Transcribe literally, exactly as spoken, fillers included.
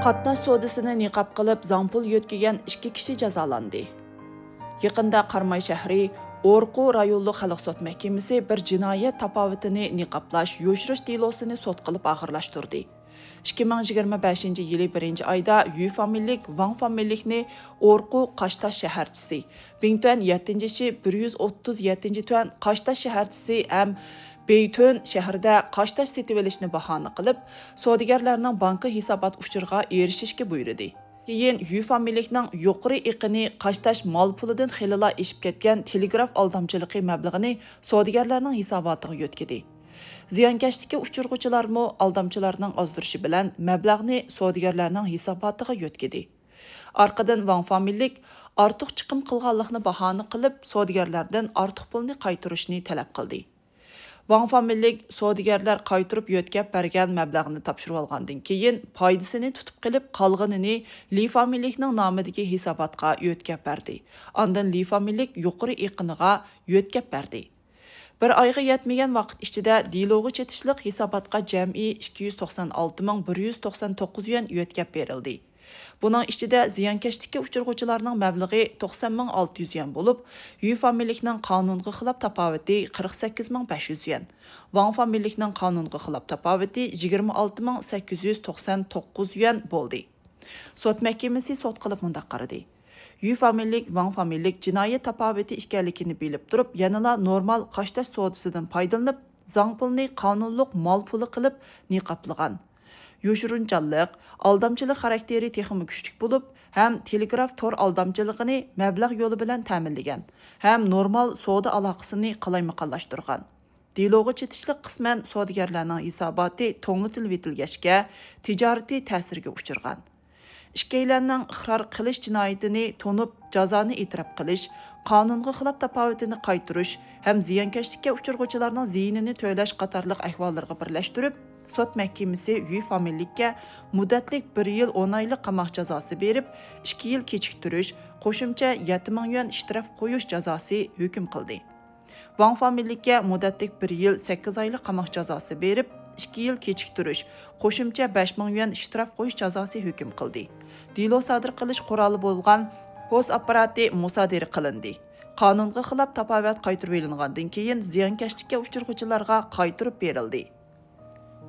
قاتناش سودىسىنى نىقاب قىلىپ زاڭ پۇل يۆتكىگەن ئىككى كىشى جازالاندى. يېقىندا قاراماي شەھىرى ئورقۇ رايونلۇق خەلق سوت مەھكىمىسى بىر جىنايەت تاپاۋىتىنى نىقابلاش، يوشۇرۇش دېلوسىنى سوت قىلىپ ئاخىرلاشتۇردى. ئىككى مىڭ يىگىرمە بەشىنچى يىلى بىرىنچى ئايدا يۈ فامىلىلىك، ۋاڭ فامىلىلىكنى ئورقۇ قاشتاش شەھەرچىسى، بىڭتۈەن يەتتىنچى شى بىر يۈز ئوتتۇز يەتتىنچى تۈەن قاشتاش شەھەرچىسى ھەم بېيتۈن شەھىرىدە قاشتاش سېتىۋېلىشنى باھانە قىلىپ، سودىگەرلەرنىڭ بانكا ھېسابات ئۇچۇرىغا ئېرىشىشكە بۇيرۇدى. كېيىن يۈ فامىلىلىكنىڭ يۇقىرى ئېقىنى قاشتاش مال پۇلىدىن خېلىلا ئېشىپ كەتكەن تېلېگراف ئالدامچىلىقى مەبلىغىنى سودىگەرلەرنىڭ ھېساباتىغا يۆتكىدى. زىيانكەشلىككە ئۇچرىغۇچىلارمۇ ئالدامچىلارنىڭ ئازدۇرۇشى بىلەن مەبلەغنى سودىگەرلەرنىڭ ھېساباتىغا يۆتكىدى. ئارقىدىن ۋاڭ فامىلىلىك ئارتۇق چىقىم قىلغانلىقىنى باھانە قىلىپ، سودىگەرلەردىن ئارتۇق پۇلنى قايتۇرۇشنى تەلەپ قىلدى. ۋاڭ فامىلىلىك سودىگەرلەر قايتۇرۇپ يۆتكەپ بەرگەن مەبلەغنى تاپشۇرۇۋالغاندىن كېيىن، پايدىسىنى تۇتۇپ قېلىپ، قالغىنىنى لى فامىلىلىكنىڭ نامىدىكى ھېساباتقا يۆتكەپ بەردى. ئاندىن لى فامىلىلىك يۇقىرى ئېقىنىغا يۆتكەپ بەردى. بىر ئايغا يەتمىگەن ۋاقىت ئىچىدە دېلوغا چېتىشلىق ھېساباتقا جەمئىي ئىككى يۈز توقسان ئالتە مىڭ بىر يۈز توقسان توققۇز يۈەن يۆتكەپ بېرىلدى. بۇنىڭ ئىچىدە زىيانكەشلىككە ئۇچرىغۇچىلارنىڭ مەبلىغى توقسان مىڭ ئالتە يۈز يۈەن بولۇپ، يۈ فامىلىلىكنىڭ قانۇنغا خىلاپ تاپاۋىتى قىرىق سەككىز مىڭ بەش يۈز يۈەن، ۋاڭ فامىلىلىكنىڭ قانۇنغا خىلاپ تاپاۋىتى يىگىرمە ئالتە مىڭ سەككىز يۈز توقسان توققۇز يۈەن بولدى. سوت مەھكىمىسى سوت قىلىپ مۇنداق قارىدى: يۈ فامىلىلىك، ۋاڭ فامىلىلىك جىنايەت تاپاۋىتى ئىكەنلىكىنى بىلىپ تۇرۇپ، يەنىلا نورمال قاشتاش سودىسىدىن پايدىلىنىپ، زاڭ پۇلنى قانۇنلۇق مال پۇلى قىلىپ نىقابلىغان. يوشۇرۇنچانلىق، ئالدامچىلىق خاراكتېرى تېخىمۇ كۈچلۈك بولۇپ، ھەم تېلېگراف تور ئالدامچىلىقىنى مەبلەغ يولى بىلەن تەمىنلىگەن ھەم نورمال سودا ئالاقىسىنى قالايمىقانلاشتۇرغان. دېلوغا چېتىشلىق قىسمەن سودىگەرلەرنىڭ ھېساباتى توڭلىتىلىۋېتىلگەچكە، تىجارىتى تەسىرگە ئۇچرىغان. ئىككىيلەننىڭ ئىقرار قىلىش جىنايىتىنى تونۇپ، جازانى ئېتىراپ قىلىش، قانۇنغا خىلاپ تاپاۋىتىنى قايتۇرۇش ھەم زىيانكەشلىككە ئۇچرىغۇچىلارنىڭ زىيىنىنى تۆلەش قاتارلىق ئەھۋاللىرىغا بىرلەشتۈرۈپ، سوت مەھكىمىسى يۈ فامىلىلىككە مۇددەتلىك بىر يىل ئون ئايلىق قاماق جازاسى بېرىپ، ئىككى يىل كېچىكتۈرۈش، قوشۇمچە يەتتە مىڭ يۈەن شتراف قويۇش جازاسى ھۆكۈم قىلدى. ۋاڭ فامىلىلىككە مۇددەتلىك بىر يىل سەككىز ئايلىق قاماق جازاسى بېرىپ، ئىككى يىل كېچىكتۈرۈش، قوشۇمچە بەش مىڭ يۈەن شتراف قويۇش جازاسى ھۆكۈم قىلدى. دېلو سادىر قىلىش قورالى بولغان پوس ئاپپاراتى مۇسادىرە قىلىندى. قانۇنغا خىلاپ تاپاۋەت قايتۇرۇۋېلىنغاندىن كېيىن، زىيانكەشلىككە ئۇچرىغۇچىلارغا قايتۇرۇپ بېرىلدى.